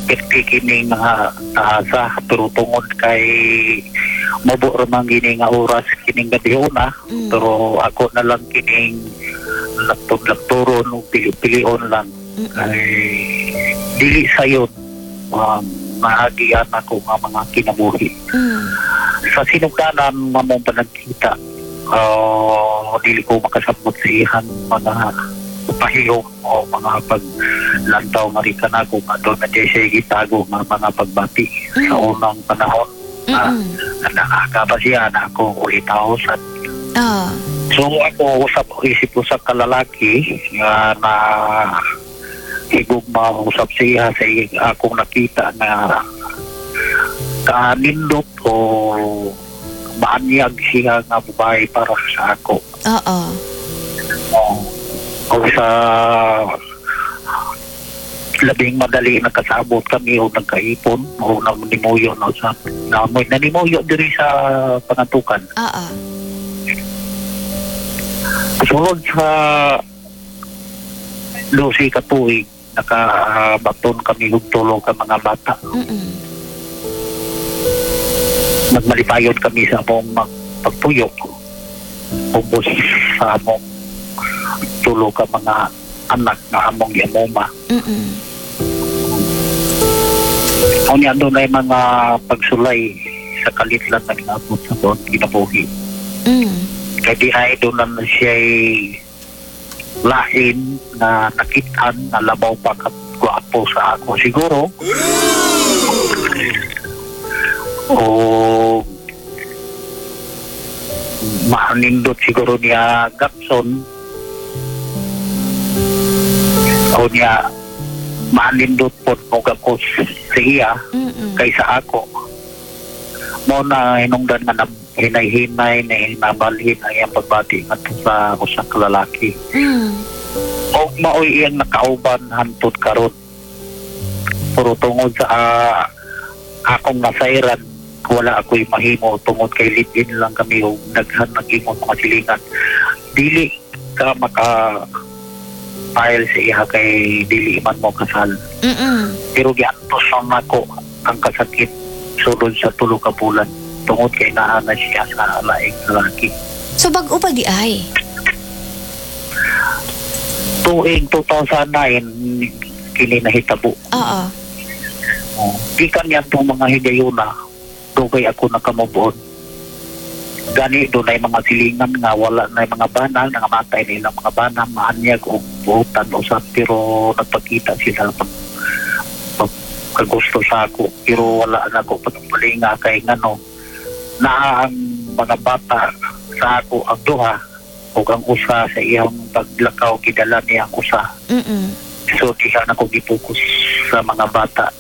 Perti kining mga taasa, pero tungod kay mubo ra man gini nga oras kining gabhiona, pero ako na lang kining laktod-laktoron o pili-pilion lang kay dili sayon maagian ako nga mga kinabuhi. Sa sinugdanan mamong panagkita, dili ko makasabot sa iyang mga pahiyong o mga paglantaw nga rin nako nga doon na di siya gitago nga mga pagbati sa unang panahon. Nakaka pa siya na ako 8,000. So ako usap isip ko sa kalalaki nga na higugma usap siya sa akong nakita na kanindot o maanyag siya nga babae para sa ako. O sa labing madali nakasabot kami o nagkaipon o nanimuyo na sa nanimuyo diri sa Pangantukan. Sulod sa 12 ka tuig nakabaton kami og tulo ka mga bata. Nagmalipayon kami sa among pagpuyo. Ubos sa among tulo ka mga anak na among giamoma. Unya doon ay mga pagsulay sa kalitlan na ginaabot sa doon ginabuhi. Kaya di ay doon na siya'y lain na nakitaan na labaw pa kat gwapo sa ako siguro. O maanindot siguro niya Gapson o niya maanindot po mo ko sa iya kaysa ako. Mo na hinungdan nga hinay-hinay na hinabalhin ang iyang pagbati ngadto sa usa ka lalaki. Og maoy iyang nakauban hantod karon. Pero tungod sa akong nasayran, wala ako'y mahimo tungod kay live-in lang kami og daghan nag-ingon mga silingan. Dili ka maka file sa iha kay dili man mo kasal. Pero giantos lang nako ang kasakit sulod sa 3 ka bulan tungod kay naa na siya sa laing lalaki. So bag-o pa di ay? Tuig 2009 kini nahitabo. Gikan niya itong mga higayuna, dugay ako nakamubuon. Gani doon ay mga silingan nga wala na mga bana, nangamatay na ilang mga bana, maanyag o buutan usap, pero nagpakita sila pag kagusto sa ako, pero wala na ako pagpalinga kay ngano naa ang mga bata sa ako ang duha o ang usa sa iyang paglakaw gidala niya ang usa. So diha na ko gipokus sa mga bata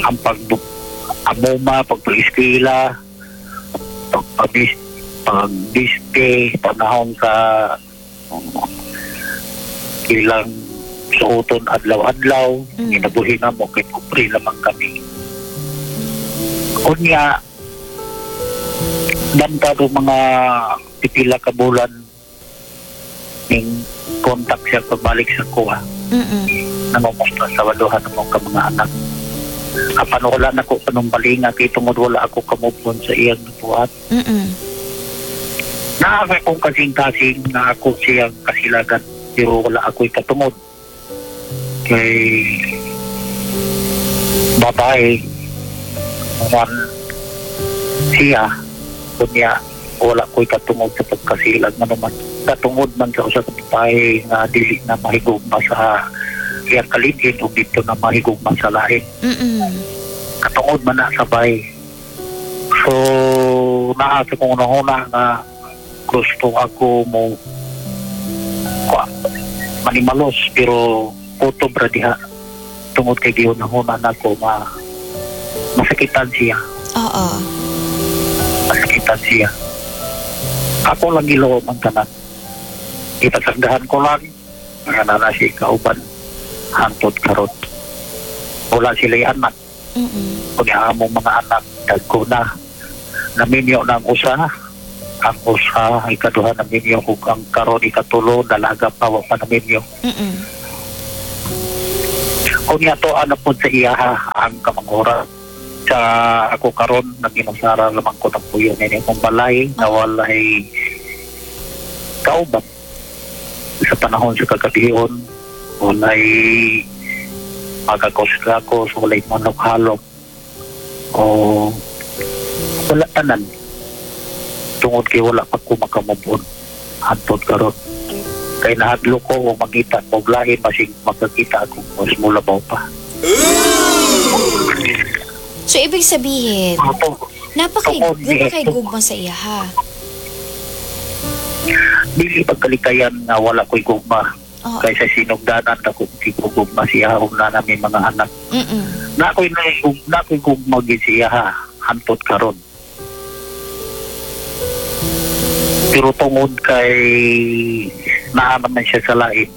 ang pag-amuma, pag-eskwela, pag-biste, panahon sa ilang suoton adlaw-adlaw, ginabuhi na mo kay pobre lamang kami. Unya, banta do mga pipila ka bulan ning kontak siya pagbalik sa kuha. Nangumusta sa waluhan mo ka mga anak. Apan wala na ko panumbalinga kay tungod wala ako kamubon sa iyang nabuhat. Naaka kong kasing-kasing na ako siyang kasilagan pero wala ako'y katungod. Kay babae man siya kunya wala ko'y katungod sa pagkasilag na naman. Katungod man sa usa ka babae nga dili na mahigugma sa iyang kalidhin o dito na mahigugma sa lain. Katungod man na sabay. So naa sa kong unang-una nga gusto ako mo manimalos pero kutob ra diha tungod kay gihunahuna nako nga masakitan siya. Masakitan siya. Ako lang giloob ang tanan. Ipasagdahan ko lang nga nana siya kauban hangtod karon. Wala sila'y anak. Kunya among mga anak dagko na. Naminyo na ang usa. Ang usa ikaduha naminyo ug ang karon ikatulo dalaga pa wa pa naminyo. Unya to ano po sa iyaha ang kamanghuran sa ako karon naginusara lamang ko ng puyo nini akong balay na walay kauban sa panahon sa kagabihon, walay magakos-gakos, walay manok halop o wala tanan tungod kay wala pa ko makamove on hantod karon kay nahadlok ko o makita ko lahi basig makakita ako mas mulabaw pa. So, ibig sabihin, Ato, tungod ni napakay gugma sa iya ha. Dili pagkalikayan nga wala ko'y gugma kaysa sinugdanan ako gugma siya ug na namin mga anak. Na ako'y na ako'y gugma gid siya ha hantod karon. Pero tungod kay naa naman siya sa lain,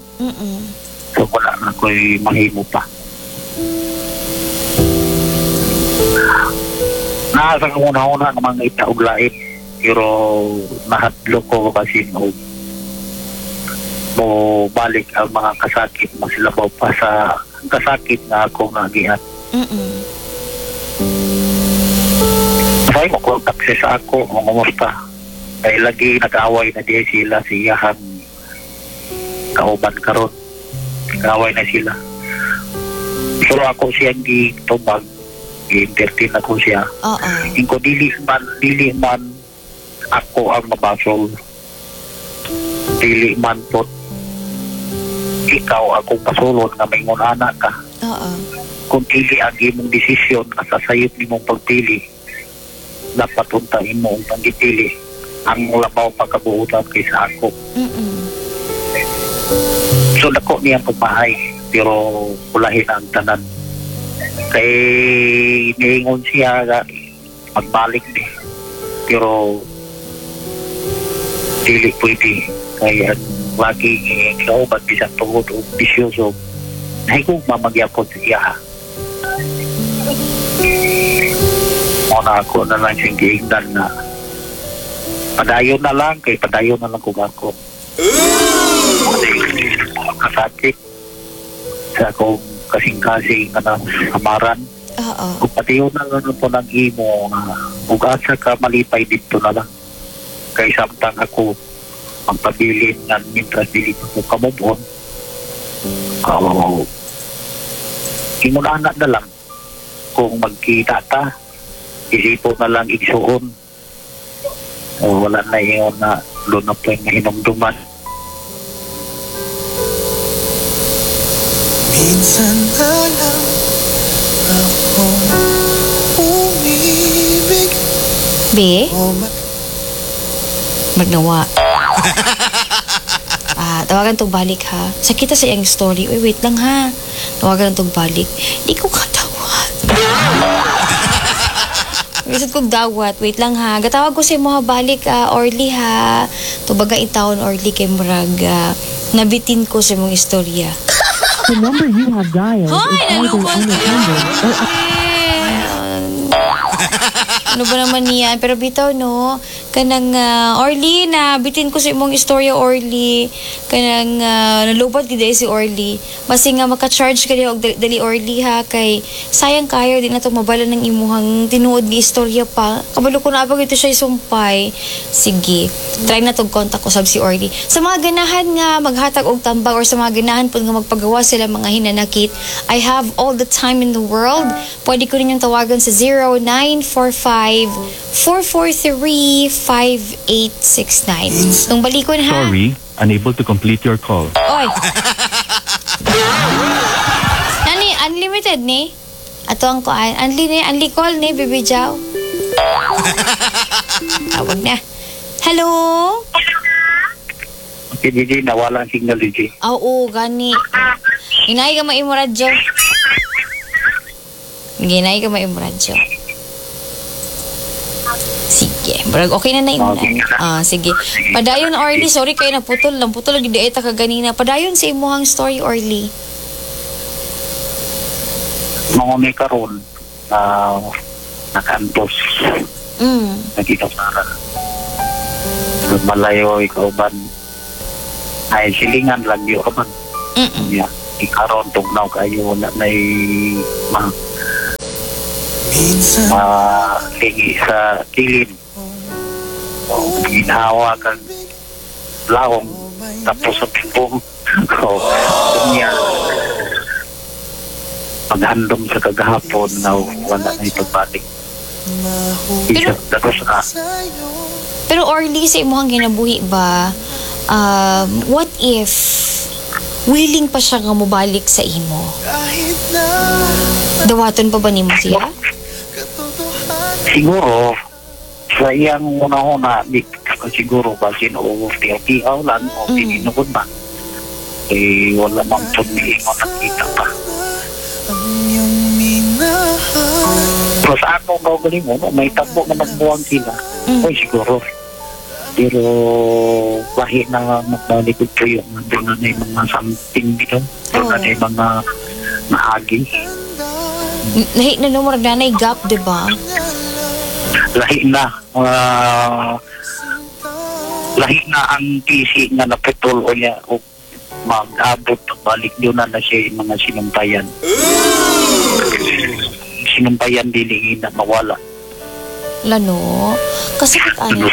so wala na ko'y mahimo pa. Naa sa una-una nga mga ita og lain, pero nahadlok ko kasi og mo balik ang mga kasakit, mas labaw pa sa kasakit na akong nagihan. Say mo contact siya sa ako, mangumusta. Kay lagi nag-away na diya sila sa iyahang kauban karon. Nag-away na sila. Pero ako siyang gitubag, gi-entertain ako siya. Ingko dili man ako ang mabasol. Dili man po ikaw akong pasulon nga maingon anak ka. Kung dili ang imong desisyon nga sa sayop nimong pagpili, dapat unta imo ang panggipili ang labaw pagkabuutan kaysa ako. So dako niya pagmahay pero ulahin ang tanan. Kay niingon siya nga magbalik ni pero dili pwede kay ang lagi kauban bisan tungod og bisyoso nahigugma magyapon sa iya. Muna ako na lang siyang giingnan na padayon na lang, kay padayon na lang kung ako. Kasakit sa akong kasing-kasing na samaran. Kung padayon na lang po ng imo, kung asa ka malipay dito na lang. Kay samtang ako magpabilin nga mintras dili pa ko kamove on. Ingon-ana na lang kung magkita ta, isipo na lang igsuon. O, wala na ingon na doon na po yung hinumduman. Minsan na lang akong umibig. Be? O Magnawa. Tawagan tong balik ha. Sakita sa iyang story. Uy, wait lang ha. Tawagan tong balik. Di ko kadawat. Lisod kong dawat. Wait lang ha. Gatawag ko sa imo ha balik, Orly ha. Tubaga intawon Orly kay murag nabitin ko sa imong istorya. The number you have dialed Hoy, is either nalungkot unattended or Ano ba naman niyan? Pero bitaw, no? Kanang, Orly, na bitin ko sa imong istorya, Orly. Kanang, nalubat gid si Orly. Basi nga maka-charge ka diha og dali, dali, Orly, ha? Kay sayang kayo, di na to mabala ng imuhang tinuod nga istorya pa. Kabalo ko na abag ito siya isumpay. Sige, try na tog contact ko sab si Orly. Sa mga ganahan nga maghatag og tambag or sa mga ganahan pud nga magpagawa sila mga hinanakit, I have all the time in the world. Pwede ko ninyong tawagan sa 0945-443-5869. Tung balikon ha. Sorry, unable to complete your call. Oy. Nani, unlimited ni? Ato ang kuan. Unli ni, unli call ni, Baby Jow. Tawag na. Hello? Okay, Gigi, nawala ang signal, Gigi. Oo, gani. Ginay ka maimo radyo. Ginay ka maimo radyo. Sige. Barag okay na na imo na. Okay na. Sige. Padayon, Orly. Sorry kayo naputol. Naputol lagi di ka ganina. Padayon sa imuhang story, Orly. Mga may karon na nakaantos, nakita para malayo ikaw ban ay silingan lang yun man. Yeah. Ikaron tugnaw kayo, wala na'y Minsan malingi sa kilid. O ginhawa kag lawom tapos sa bibong. O niya paghandom sa kagahapon na wala na ipagbalik. Pero- Isa tapos sa'yo. Pero Orly, sa imuhang ginabuhi ba, what if willing pa siya nga mobalik sa imo? Kahit na Dawaton pa ba nimo siya? katotohanan, siguro sa iyang una-una di ko siguro basin o tiyaw-tiyaw lang o tininugod ba eh wala mang pag-iingon nakita pa. ang iyong minahal. Pero sa akong kaugalingon, no, may tabo na magbuwang sila. Oy, siguro. Pero lahi na magbalik ko yung doon na yung mga something dito. Doon na yung mga naagi. Nahi na no, murag nanay gap, di ba? Lahi na. Lahi na ang PC nga naputol o niya o mag-abot balik doon na na siya yung mga sinumpayan. Sinumpayan dili na mawala. Lano, kasakit ano.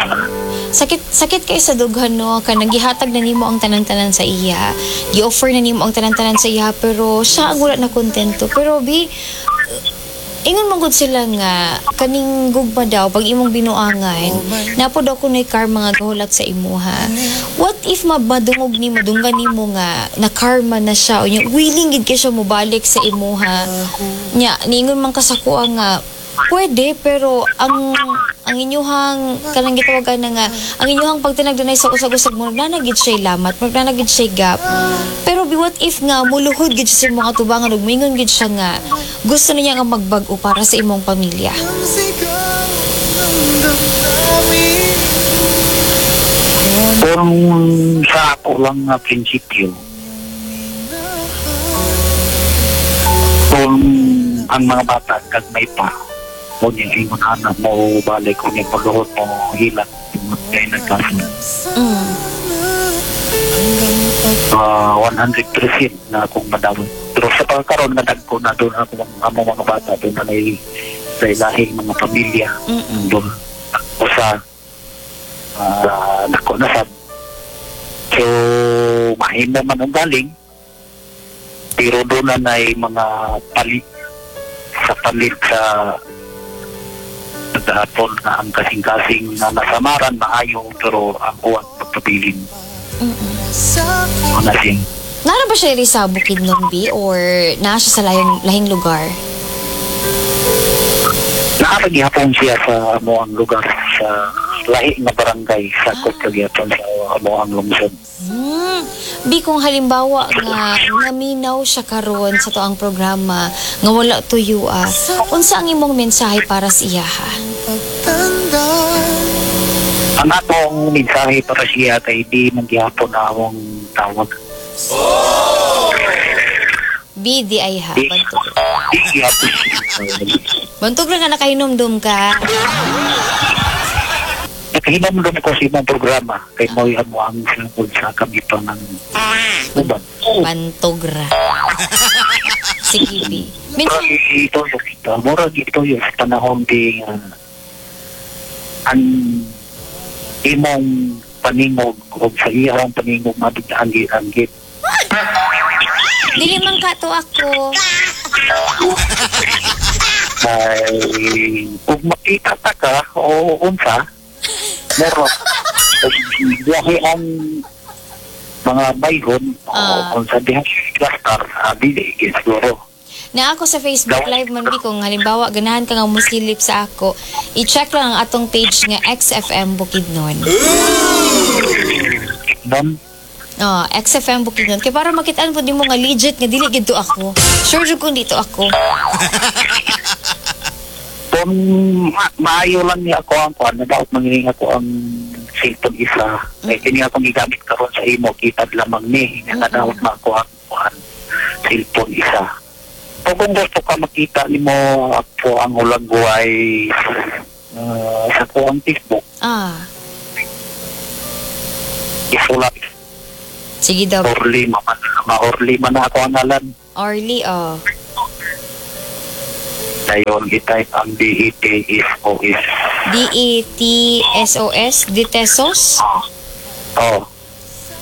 Sakit sakit kay sa dughan no, kanang gihatag na nimo ang tanan-tanan sa iya. Gi-offer na nimo ang tanan-tanan sa iya pero siya ang wala na kontento. Pero bi ingon man gud sila nga kaning gugma daw pag imong binuangan, napo daw kunoy karma nga gahulat sa imuha. What if mabadungog nimo, dunggan nimo nga na karma na siya o nya willing gid kay siya mobalik sa imuha? Nya niingon man ka sa kuha nga pwede, pero ang inyuhang kanang gitawagan na nga ang inyuhang pagtinagdanay sa usag-usag mo na gid siya lamat, na gid siya gap. Pero bi what if nga muluhod gid siya sa imong katubangan ug moingon gid siya nga gusto niya nga magbag-o para sa imong pamilya? Ang sigaw ng damdamin. Kung sa ako lang nga prinsipyo, kung ang mga bata kag may pa, huwag niyang ingon anak mo, balik kung niyang pagluhot mo, hilat, kaya nagkasin. Hanggang 100% na akong madawat. Pero sa pagkaroon na dagko na doon ako ang among mga bata, doon na may sa ilahing mga pamilya. Doon ako sa dako na sa. So, mahimo man ang galing, pero doon na may mga palit sa palit sa nagdahapon na ang kasing-kasing na nasamaran, maayo, pero ang kuwan pagpabilin. sa Ano siya? Nara ba siya rin sa Bukidnon, B? Or naa siya sa lahing lugar? Naaragihapon siya sa amoang lugar sa lahi nga barangay sa Kotlagyapon sa amoang lungsod. Bi, kung halimbawa nga naminaw siya karon sa tuang programa nga wala tuyo unsa ang imong mensahe para sa iya ha? pagtanda. Ang atong mensahe para siya kay di man gihapon na among tawag. Bi, di ay ha. Di, Bantog. di gihapon. Bantog lang nga nakahinomdom ka. Nakahinomdom ko sa imong programa kay mo'y amo ang sangkod sa kami pa ng uban. Bantog ra. Sige, Bi. Minsan, Murag ito, murag ito yung sa panahon di ang imong paningog o sa iyang paningog mabigla-anggit. Dili man ka to ako. Ay, kung makita ta ka o unsa, meron. Biyahe ang mga baygon o kung sa diha cluster, dili, siguro. Na ako sa Facebook Live man bi, kung halimbawa ganahan ka nga musilip sa ako, i-check lang ang atong page nga XFM Bukidnon. Nun, Oh, XFM Bukidnon. Kay para makitaan po nimo nga legit nga dili gid to ako. Sure jud kung dito ako. Kung maayo lang niya ako ang kuan, nadaot mangining ako ang cellphone isa. Kay kini akong gigamit karon sa imo, kitad lamang ni. Nakadaot na ako ang kuan, cellphone isa. O kung gusto ka makita nimo ako ang hulagway sa kuang Facebook, isulat. Sige daw. Orly, ma-Orly man na ako ang ngalan. Orly, oh. Dayon, i-type ang D-E-T-S-O-S. D-E-T-S-O-S, Ditesos. Oh,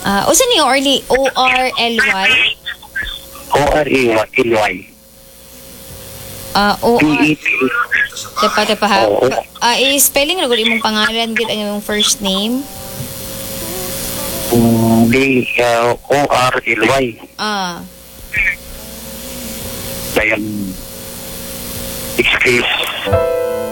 Ah, usa ni Orly? O-R-L-Y? O-R-E-L-Y. Ah, O-R... D-E-T. Tepa, tepa ha. Oo. Ah, i-spelling na gud imong pangalan, gid ang imong first name. D, O-R-L-Y. Ah, Dayon, excuse.